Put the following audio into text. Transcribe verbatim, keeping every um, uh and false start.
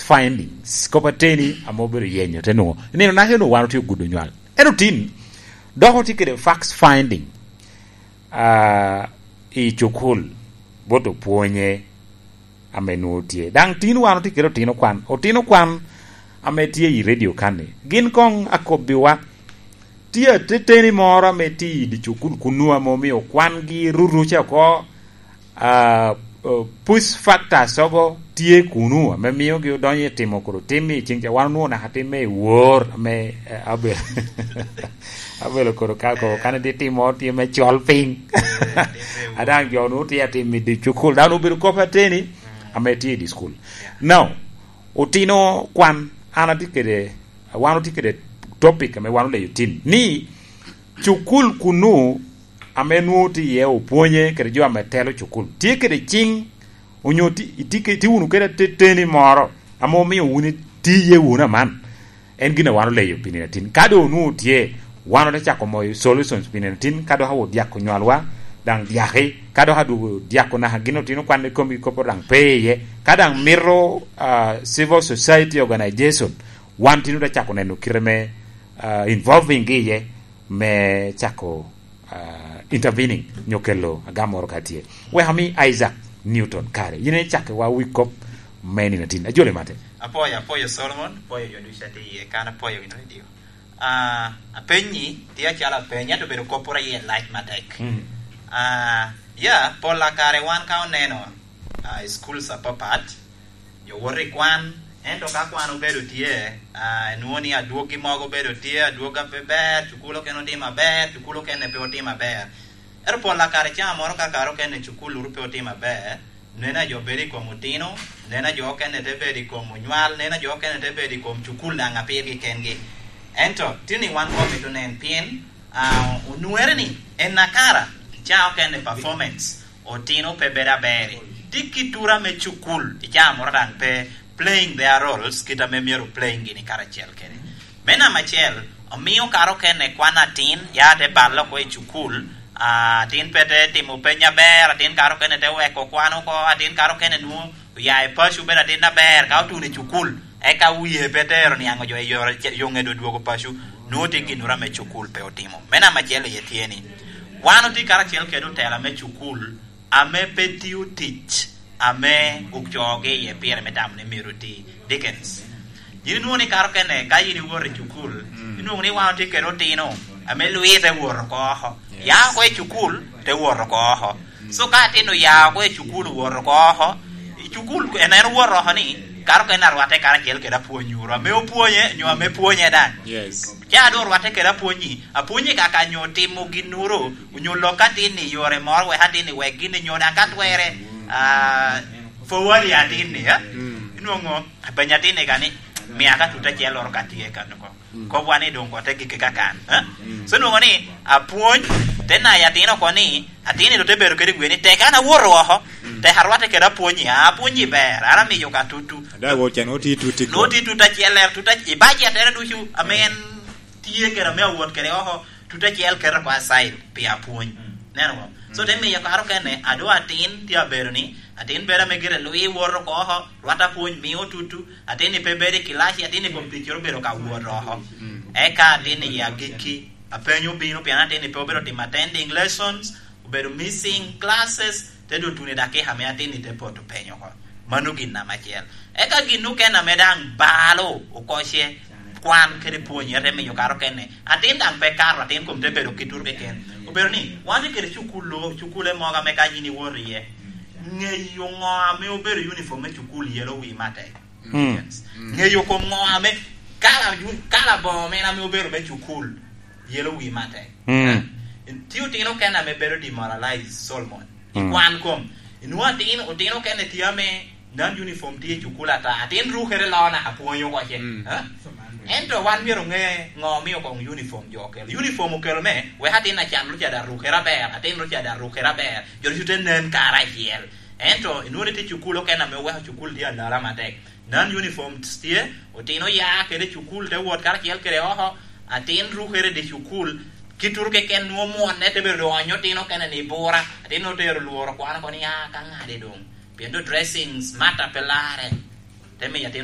Findings, kop ateni ame obedo yenyo, te nwoŋo nino naka onwoŋo wan otye ogudo nywal. Ento tin, dok otye kede fact finding, ah, i cukul, bot opwonye ame nwoŋo tye. Daŋ tin wan otye kede otino kwan, otino kwan ame tye i redio kan-ni. Gin koŋ akobbiwa, tye ateteni moro ame tye i dye cukul kunnu ame omio kwangi ruruce oko, ah, eh, push factors ogo tye kunu ame miogi odonyo i timo kodi tim i ceng ca. Wan onwoŋo naka timme i wor ame, eh, abel-, abelo kodi ka ko, kan itye timo tye me col piny. A daŋ jo onwoŋo tye atim i dye cukul, daŋ obedo kop ateni ame tye i dye cukul. Now, otino kwan, an atye kede, wan otye kede topic ame wan oleyo tin ni cukul kunnu ame nwoŋo tye iye opwonye kede jo ame telo cukul, tye kede ciŋ, onyo ti-, itye ke-, itye wunu kede ateteni moro ame omio wun itiye wunu aman, en gin a wan oleyo pi nino atin. Ka doŋ onwoŋo tye, wan ote cako moyo solutions pi nino atin, ka dok awo dyako nywalwa, daŋ dyaki, ka dok adwogo dyako naka gin otino kwan i komgi kop daŋ pe iye. Ka daŋ mito, ah, civil society organization, wan tin ote cako neno kite me, ah, involving gi iye, me cako, ah, intervening, nyo kelo agam moro ka tye. Wek ami Isaac Newton kare, yin icakki wa wi kop me nino atin. Ajoli mate. Apwoyo, apwoyo Solomon, apwoyo jo ducu a tye iye kan, apwoyo gin radio. Ah, apenyi, tye acalo apeny, ento obedo kop pwod aye lac matek. Mm. Ah, ya, pol a kare wan ka oneno, ah, i schools apapat, jo woto i kwan, ento ka kwan obedo tye, ah, enwoŋo ni adwoggi mogo obedo tye, adwogga pe ber, cukul okene otimo aber, cukul okene pe otimo aber. Ento pol a kare cawa moro ka kare okene cukul uru pe otimo aber, neno a jo bedo i kom otino, neno a jo okene te bedo i kom onywal, neno a jo okene te bedo i kom cukul daŋ a pirgi kengi. Ento, tini wan komito nen pien, ah, onwere ni en akara, cawa okene performance, otino pe bedo aber. Tye kit tura me cukul, i cawa moro daŋ pe playing their roles, kit ame myero playing gini karacel kede. Me namba acel, omio kare okene kwan atin, ya te balle oko i cukul, ah, atin pe te timo peny aber, atin kare okene te weko kwan oko, atin kare okene nwoŋo oya i paco obedo atin aber, ka otuno i cukul, eka wie pe tero niaŋ ojo i yore, yo ŋedo dwogo paco, nwoŋo tye ginnoro ame cukul pe otimo. Me namba acel iye tye ni, wan otye karacel kede otela me cukul, ame pe tio tic ame ocoogi iye pire me tamo ni myero oti. Dickens. Yin inwoŋo ni kare okene, ka yin iwoto i cukul, mm, inwoŋo ni wan otye kede otino ame lwite woto oko oko. Yes. Ya oko i cukul, te woto oko oko. Mm. So ka atin oya oko i cukul, owoto oko oko, i cukul, en, en owoto oko ni, kare okene arwatte karacel kede apwony uru, ame opwonye, nyo ame pwonye daŋ. Yes. Ca doŋ orwatte kede apwonyi, apwonyi kaka nyo timo ginnoro, onyo lok atin i yore moro, wek atin i wek gin i nyo daŋ ka twere, ah, forward atin ni, eh? Mm. Inwoŋo, apenyo atin ni ka ni, mia ka tut acel loro ka tye kan oko. Mm. Kobwa ni doŋ kote gike ka kan, eh? Mm. So inwoŋo ni, apwony, te nayo atin oko ni, atin ni doŋ te bedo kede gwe ni, tek an awoto oko, mm, tek arwatte kede apwonyi, a, apwonyi ber, an amiyo ka tutu. Ada wo can oti tuti ko. Noti tut acel, ler tut ac-, i budget ere ducu, ame en tye kede ame awot kede oko, tut acel keto oko aside pi apwony. Mm. Neno bo? So, te miyo kare okene, ado atin tye abedo ni, atin bedo ame gire lwi woto oko oko, rwat apwony mio tutu, atin ni pe bedo i kilaci, atin ni kom ticere obedo ka wot oko. Mm. Eka atin ni i agikki, apenyo obino, pien atin ni pe obedo timo attending lessons, obedo missing classes, te dong tuno i dakika ame atin ni te poto penyo oko. Mano gin namba acel. Eka gin okene ame daŋ balo oko ce, kwan kede pwony, ete miyo kare okene. Atin daŋ pe kato, atin kom te bedo ki tur keken. Obedo ni, wan tye kede cukul, cukule mogo ame ka yin iwoto iye, ŋeyo ŋo ame obedo uniform me cukul yelo wi matek. Mm. Ŋeyo kom ŋo ame kala, kala boŋo mene ame obedo me cukul yelo wi matek. Mm. Eh? Tye otino okene ame bedo demoralized, Solomon. I, mm, kwan kom. Inwoŋo atin, otino okene tye ame non uniform tye i cukul ata. Atin rukere loo naka pwony oko ce. Mm. Eh? Ento wan myero oŋe ŋo omio koŋ uniform jo okelo. Uniform okelo me, wek atin acan ru ca daŋ rukere aber, atin ru ca daŋ rukere aber. Jo ducu te nen karacel. Ento inwoŋo ni tye cukul okene ame oweko cukul tye alala matek. Non uniform tye, otino ya kede cukul te wot karacel kede oko, atin rukere i dye cukul, ki turu keken nwoŋo mwonne te bedo doŋ onyo otino okene ni bura, atin otero lworo kwano oko ni, "Ah, ka ŋade doŋ." Pien doŋ dressing smart pe larre. Te miyo atin